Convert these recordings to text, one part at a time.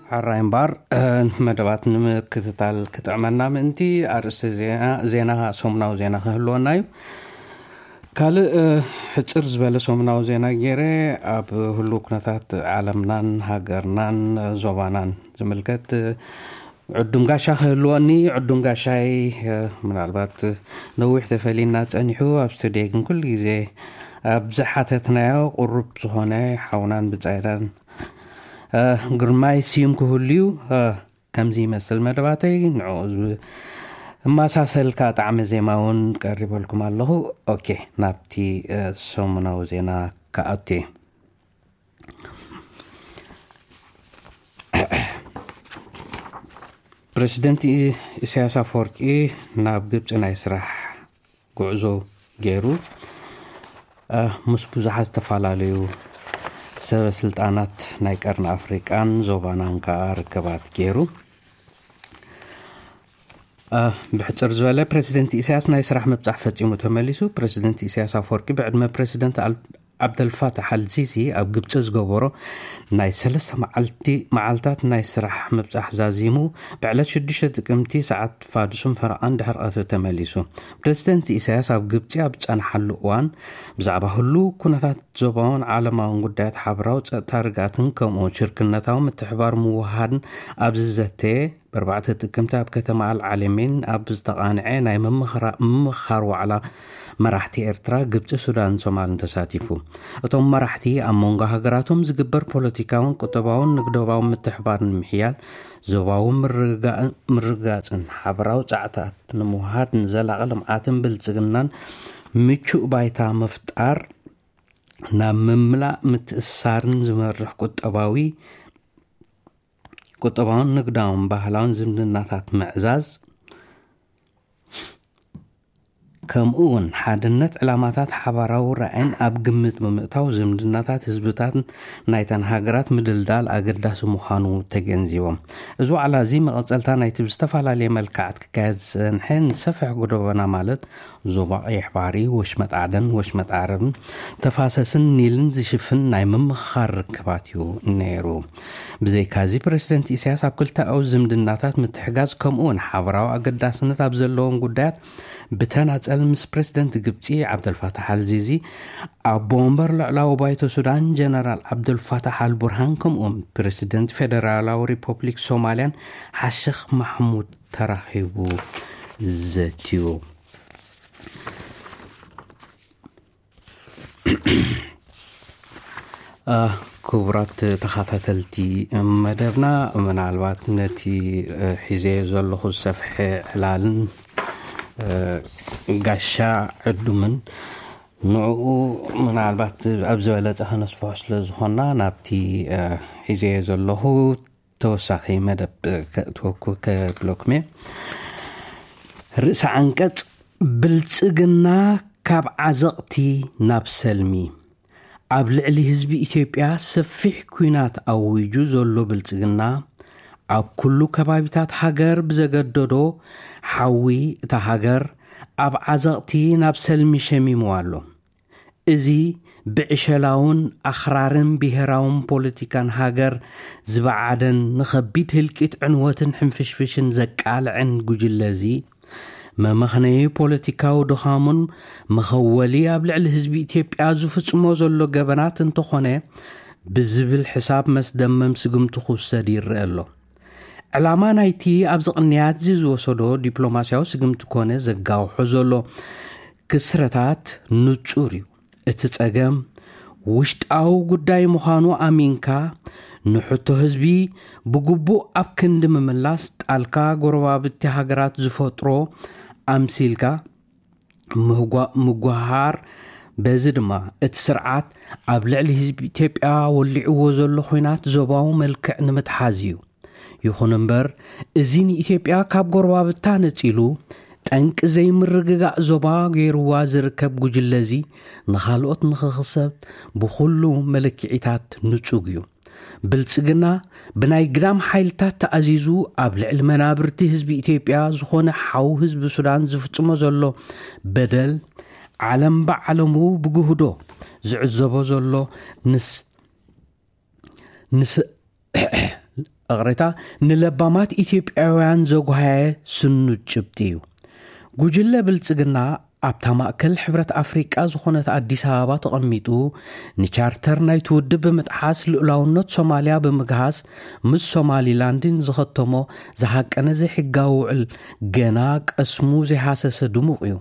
ሓራይ እምበኣር፣ እ፣ መደባት ንምክትታል ክጥዕመና ምእንቲ ኣርእስቲ ዜና፣ ዜና፣ ሰሙናዊ ዜና ክህልወና እዩ። ካልእ፣ እ፣ ሕጽር ዝበለ ሰሙናዊ ዜና ገይረ ኣብ ህሉው ኩነታት ዓለምናን ሃገርናን ዞባናን ዝምልከት፣ እ፣ ዕዱም ጋሻ ክህልወኒ፣ ዕዱም ጋሻይ፣ እ፣ ምናልባት ነዊሕ ተፈሊና ጸኒሑ፣ ኣብ ስቱድዮ ግን ኩሉ ግዜ ኣብ ዝሓተትናዮ ቅሩብ ዝኾነ ሓውናን ብጻይናን፣ እ፣ ግርማይ ስዩም ክህሉ እዩ። እ፣ ከምዚ ይመስል መደባተይ፣ ንዕኡ ዝብ-፣ እማሳሰልካ ጣዕመ ዜማ እውን ቀሪበልኩም ኣለኹ። ኦኬ፣ ናብቲ፣ እ፣ ሰሙናዊ ዜና ክኣቱ እየ። ፕረዚደንት ኢ-፣ ኢሳያስ ኣፈወርቂ ናብ ግብጺ ናይ ስራሕ ጉዕዞ ገይሩ፣ እ፣ ምስ ብዙሓት ዝተፈላለዩ ሰበ ስልጣናት ናይ ቀርኒ ኣፍሪቃን ዞባናን ከኣ ርክባት ገይሩ። እ፣ ብሕጽር ዝበለ ፕረዚደንት ኢሳያስ ናይ ስራሕ ምብጻሕ ፈጺሙ ተመሊሱ። ፕረዚደንት ኢሳያስ ኣፈወርቂ ብዕድመ ፕረዚደንት ኣል-፣ ዓብደልፋታሕ ኣልሲሲ ኣብ ግብጺ ዝገበሮ ናይ ሰለስተ መዓልቲ፣ መዓልታት ናይ ስራሕ ምብጻሕ ዛዚሙ ብዕለት ሽዱሽተ ጥቅምቲ ሰዓት ፋዱስን ፈረቓን ድሕሪ ቀትሪ ተመሊሱ። ፕረዚደንት ኢሳያስ ኣብ ግብጺ ኣብ ዝጸንሓሉ እዋን ብዛዕባ ህሉው ኩነታት ዞባውን ዓለማውን ጉዳያት ሓበራዊ ጸጥታ ርግኣትን ከምኡ ሽርክነታዊ ምትሕባር ምውሃድን ኣብ ዝዘተየ ብኣርባዕተ ጥቅምቲ ኣብ ከተማ ኣልዓለሜን ኣብ ዝተቓንዐ ናይ ምምኽራ-፣ ምምኽኻር ዋዕላ መራሕቲ ኤርትራ፣ ግብጺ፣ ሱዳን፣ ሶማልን ተሳቲፉ። እቶም መራሕቲ ኣብ መንጎ ሃገራቶም ዝግበር ፖለቲካውን ቁጠባውን ንግዳውን ምትሕባር ንምሕያል፣ ዞባዊ ምርግጋእን፣ ምርግጋጽን ሓበራዊ ጻዕታት ንምውሃድ ንዘላቒ ልምዓትን ብልጽግናን ምቹእ ባይታ ምፍጣር፣ ናብ ምምላእ ምትእስሳርን ዝመርሕ ቁጠባዊ፣ ቁጠባውን ንግዳውን ባህላውን ዝምድናታት ምዕዛዝ፣ ከምኡ እውን ሓድነት ዕላማታት ሓባራዊ ራዕይን ኣብ ግምት ብምእታው ዝምድናታት ህዝብታት ናይተን ሃገራት ምድልዳል ኣገዳሲ ምዃኑ ተገንዚቦም። እዚ ዋዕላ እዚ መቐጸልታ ናይቲ ብዝተፈላለየ መልክዓት ክካየድ ዝጸንሐ ንሰፍሕ ጎደቦና ማለት ዞባ ቀይሕ ባሕሪ፣ ወሽመጥ ዓደን ወሽመጥ ዓረብን ተፋሰስን ኒልን ዝሽፍን ናይ ምምኽኻር ርክባት እዩ ነይሩ። ብዘይካዚ ፕረዚደንት ኢሳያስ ኣብ ክልተኣዊ ዝምድናታት ምትሕጋዝ ከምኡ እውን ሓበራዊ ኣገዳስነት ኣብ ዘለዎም ጉዳያት ብተናጸል ምስ ፕረዚደንት ግብጺ ዓብደልፋታሕ ኣልሲሲ፣ ኣቦ ወንበር ልዕላዊ ባይቶ ሱዳን ጀነራል ዓብደልፋታሕ ኣልቡርሃን ከምኡ እውን ፕረዚደንት ፌደራላዊ ሪፐብሊክ ሶማልያን ሓሽኽ ማሕሙድ ተራኺቡ ዘትዩ። እ፣ ክቡራት ተኸታተልቲ መደብና፣ ምናልባት ነቲ፣ እ፣ ሒዘዮ ዘለኹ ዝሰፍሐ ዕላልን፣ እ፣ ጋሻ ዕዱምን ንዕኡ ምናልባት ኣብ ዝበለጸ ከነስፍሖ ስለ ዝኾንና ናብቲ፣ እ፣ ሒዘዮ ዘለኹ ተወሳኺ መደብ፣ እ፣ ከእትወኩ ከብለኩም እየ። ርእሰ ዓንቀጽ፣ ብልጽግና ካብ ዓዘቕቲ ናብ ሰልሚ። ኣብ ልዕሊ ህዝቢ ኢትዮጵያ ሰፊሕ ኲናት ኣዊጁ ዘሎ ብልጽግና፣ ኣብ ኩሉ ከባቢታት ሃገር ብዘገደዶ ሓዊ እታ ሃገር ኣብ ዓዘቕቲ ናብ ሰልሚ ሸሚምዋ ኣሎ። እዚ ብዕሸላውን ኣኽራርን ብሄራውን ፖለቲካን ሃገር ዝበዓደን ንኸቢድ ህልቂት ዕንወትን ሕንፍሽፍሽን ዘቃልዐን ጉጅለ እዚ፣ መመኽነዪ ፖለቲካዊ ድኻሙን መኸወሊ ኣብ ልዕሊ ህዝቢ ኢትዮጵያ ዝፍጽሞ ዘሎ ገበናት እንተኾነ፣ ብዝብል ሕሳብ መስደመም ስጉምቲ ክውሰድ ይረአ ኣሎ። ዕላማ ናይቲ ኣብዚ ቅንያት እዚ ዝወሰዶ ዲፕሎማስያዊ ስጉምቲ ኮነ ዘጋውሖ ዘሎ ክስረታት ንጹር እዩ። እቲ ጸገም ውሽጣዊ ጉዳይ ምዃኑ ኣሚንካ፣ ንሕቶ ህዝቢ ብግቡእ ኣብ ክንዲ ምምላስ፣ ጣልካ ጎረባብቲ ሃገራት ዝፈጥሮ ኣምሲልካ ምህጓ-፣ ምጉሃር፣ በዚ ድማ እቲ ስርዓት ኣብ ልዕሊ ህዝቢ ኢትዮጵያ ወሊዕዎ ዘሎ ኹናት ዞባዊ መልክዕ ንምትሓዝ እዩ። ይኹን እምበር፣ እዚ ንኢትዮጵያ ካብ ጎረባብታ ነጺሉ፣ ጠንቂ ዘይምርግጋእ ዞባ ገይርዋ ዝርከብ ጉጅለ እዚ፣ ንኻልኦት ንኽኽሰብ ብኹሉ መለክዒታት ንጹግ እዩ። ብልጽግና ብናይ ግዳም ሓይልታት ተኣዚዙ ኣብ ልዕሊ መናብርቲ ህዝቢ ኢትዮጵያ ዝኾነ ሓው ህዝቢ ሱዳን ዝፍጽሞ ዘሎ በደል፣ ዓለም ብዓለሙ ብግህዶ ዝዕዘቦ ዘሎ፣ ንስ-፣ ንስ-፣ እቕሬታ፣ ንለባማት ኢትዮጵያውያን ዘጓሃየ ስኑድ ጭብጢ እዩ። ጉጅለ ብልጽግና ኣብታ ማእከል ሕብረት ኣፍሪቃ ዝኾነት ኣዲስ ኣበባ ተቐሚጡ፣ ንቻርተር ናይቲ ውድብ ብምጥሓስ፣ ልኡላውነት ሶማልያ ብምግሃስ፣ ምስ ሶማሊላንድን ዝኸተሞ ዝሃቀነ ዘይሕጋዊ ውዕል ገና ቀስሙ ዘይሃሰሰ ድሙቕ እዩ።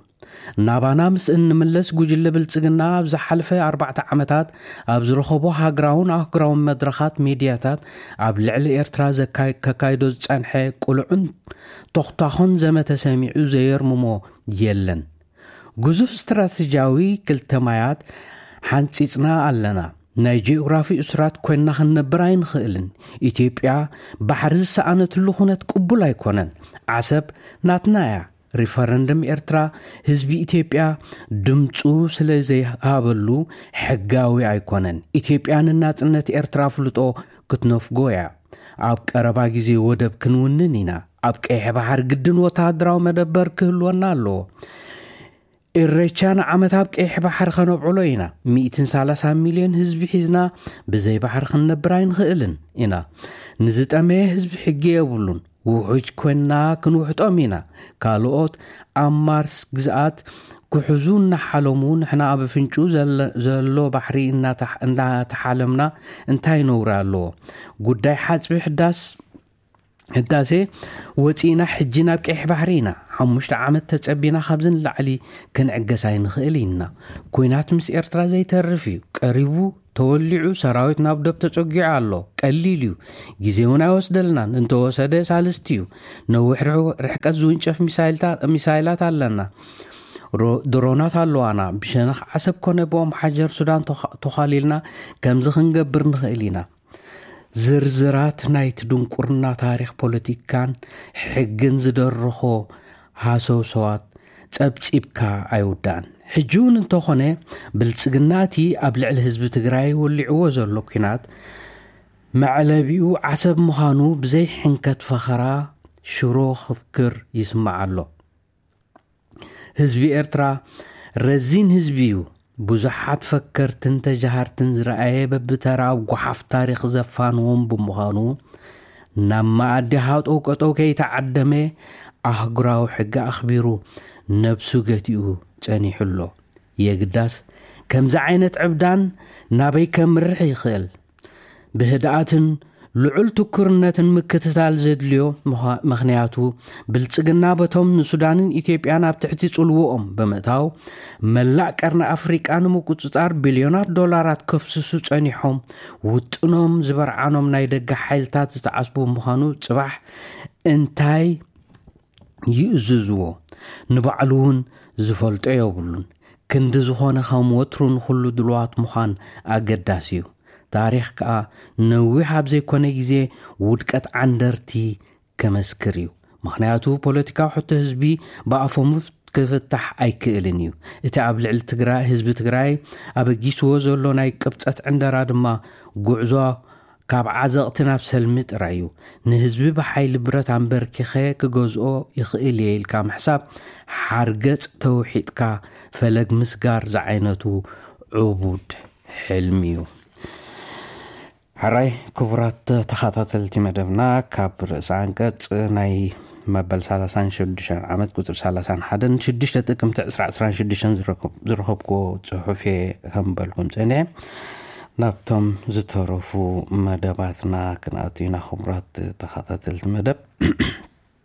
ናባና ምስ እንምለስ፣ ጉጅለ ብልጽግና ኣብ ዝሓለፈ ኣርባዕተ ዓመታት ኣብ ዝረኸቦ ሃገራውን ኣህጉራውን መድረኻት፣ ሚድያታት፣ ኣብ ልዕሊ ኤርትራ ዘካ-፣ ከካይዶ ዝጸንሐ ቅሉዕን ተኽታኾን ዘመተ ሰሚዑ ዘየርምሞ የለን። ግዙፍ ስትራተጂያዊ ክልተ ማያት ሓንጺጽና ኣለና። ናይ ጂኦግራፊ እሱራት ኮይንና ክንነብር ኣይንኽእልን። ኢትዮጵያ ባሕሪ ዝሰኣነትሉ ኩነት ቅቡል ኣይኮነን። ዓሰብ ናትና እያ። ሪፈረንደም ኤርትራ፣ ህዝቢ ኢትዮጵያ ድምፁ ስለ ዘይሃበሉ ሕጋዊ ኣይኮነን። ኢትዮጵያ ንናጽነት ኤርትራ ኣፍልጦ ክትነፍጎ እያ። ኣብ ቀረባ ግዜ ወደብ ክንውንን ኢና። ኣብ ቀይሕ ባሕሪ ግድን ወተሃደራዊ መደበር ክህልወና ኣለዎ። ኢሬቻ ንዓመት ኣብ ቀይሕ ባሕሪ ከነብዕሎ ኢና። ሚእትን ሰላሳን ሚልዮን ህዝቢ ሒዝና ብዘይ ባሕሪ ክንነብር ኣይንኽእልን ኢና። ንዝጠመየ ህዝቢ ሕጊ የብሉን። ውሑጅ ኮይንና ክንውሕጦም ኢና። ካልኦት ኣብ ማርስ ግዝኣት ክሕዙ እናሓለሙ፣ ንሕና ኣብ ኣፍንጭኡ ዘለ-፣ ዘሎ ባሕሪ እናተሕ-፣ እናተሓለምና እንታይ ነውሪ ኣለዎ? ጉዳይ ሓጽቢ ሕዳስ ህዳሴ ወፂእና፣ ሕጂ ናብ ቀይሕ ባሕሪ ኢና። ሓሙሽተ ዓመት ተጸቢና ካብዚ ንላዕሊ ክንዕገስ ኣይንኽእል ኢና። ኲናት ምስ ኤርትራ ዘይተርፍ እዩ። ቀሪቡ፣ ተወሊዑ፣ ሰራዊት ናብ ዶብ ተጸጊዑ ኣሎ። ቀሊል እዩ። ግዜ እውን ኣይወስደልናን። እንተወሰደ ሳልስቲ እዩ። ነዊሕ ርሕ-፣ ርሕቀት ዝውንጨፍ ሚሳይልታ-፣ ሚሳይላት ኣለና። ሮ-፣ ድሮናት ኣለዋና። ብሸነኽ ዓሰብ ኮነ ብኦም ሓጀር ሱዳን ተኻ-፣ ተዃሊልና ከምዚ ክንገብር ንኽእል ኢና። ዝርዝራት ናይቲ ድንቁርና ታሪኽ ፖለቲካን ሕግን ዝደረኾ ሃሰውሰዋት ጸብጺብካ ኣይውዳእን። ሕጂ እውን እንተኾነ፣ ብልጽግና እቲ ኣብ ልዕሊ ህዝቢ ትግራይ ወሊዕዎ ዘሎ ኲናት መዕለቢኡ ዓሰብ ምዃኑ ብዘይ ሕንከት ፈኸራ ሽሮ ክፍክር ይስማዕ ኣሎ። ህዝቢ ኤርትራ ረዚን ህዝቢ እዩ። ብዙሓት ፈከርትን ተጃሃርትን ዝረኣየ በብተራ ኣብ ጓሓፍ ታሪኽ ዘፋንዎም ብምዃኑ፣ ናብ መኣዲ ሃጠው ቀጠው ከይተዓደመ ኣህጉራዊ ሕጊ ኣኽቢሩ ነብሱ ገቲኡ ጸኒሑ ኣሎ። የግዳስ፣ ከምዚ ዓይነት ዕብዳን ናበይ ከምርሕ ይኽእል? ብህድኣትን ልዑል ትኩርነትን ምክትታል ዘድልዮ ምዃ-፣ ምኽንያቱ፣ ብልጽግና በቶም ንሱዳንን ኢትዮጵያን ኣብ ትሕቲ ጽልውኦም ብምእታው፣ መላእ ቀርኒ ኣፍሪቃ ንምቁጽጻር ቢልዮናት ዶላራት ከፍስሱ ጸኒሖም፣ ውጥኖም ዝበርዓኖም ናይ ደገ ሓይልታት ዝተዓጽቡ ምዃኑ ጽባሕ እንታይ ይእዝዝዎ? ንባዕሉ እውን ዝፈልጦ የብሉን። ክንዲ ዝኾነ፣ ከም ወትሩ ንኹሉ ድልዋት ምዃን ኣገዳሲ እዩ። ታሪኽ ከኣ ነዊሕ ኣብ ዘይኮነ ግዜ ውድቀት ዓንደርቲ ከመስክር እዩ። ምኽንያቱ፣ ፖለቲካዊ ሕቶ ህዝቢ ብኣፎም ክፍታሕ ኣይክእልን እዩ። እቲ ኣብ ልዕሊ ትግራይ፣ ህዝቢ ትግራይ ኣበጊስዎ ዘሎ ናይ ቅብጸት ዕንደራ ድማ ጉዕዞ ካብ ዓዘቕቲ ናብ ሰልሚ ጥራይ እዩ። ንህዝቢ ብሓይሊ ብረት ኣንበርኪኸ ክገዝኦ ይኽእል እየ ኢልካ ምሕሳብ፣ ሓርገጽ ተውሒጥካ ፈለግ ምስጋር ዝዓይነቱ ዕቡድ ሕልሚ እዩ። ሕራይ ክቡራት ተኸታተልቲ መደብና፣ ካብ ርእሰ ኣንቀጽ ናይ መበል ሰላሳን ሽዱሽተን ዓመት ቁጽሪ ሰላሳን ሓደን ሽዱሽተ ጥቅምቲ ዕስራ ዕስራን ሽዱሽተን ዝረከብ-፣ ዝረኸብኩዎ ጽሑፍ እየ ከንበልኩም ጸኒሐ። ናብቶም ዝተረፉ መደባትና ክንኣቱ ኢና። ክቡራት ተኸታተልቲ መደብ፣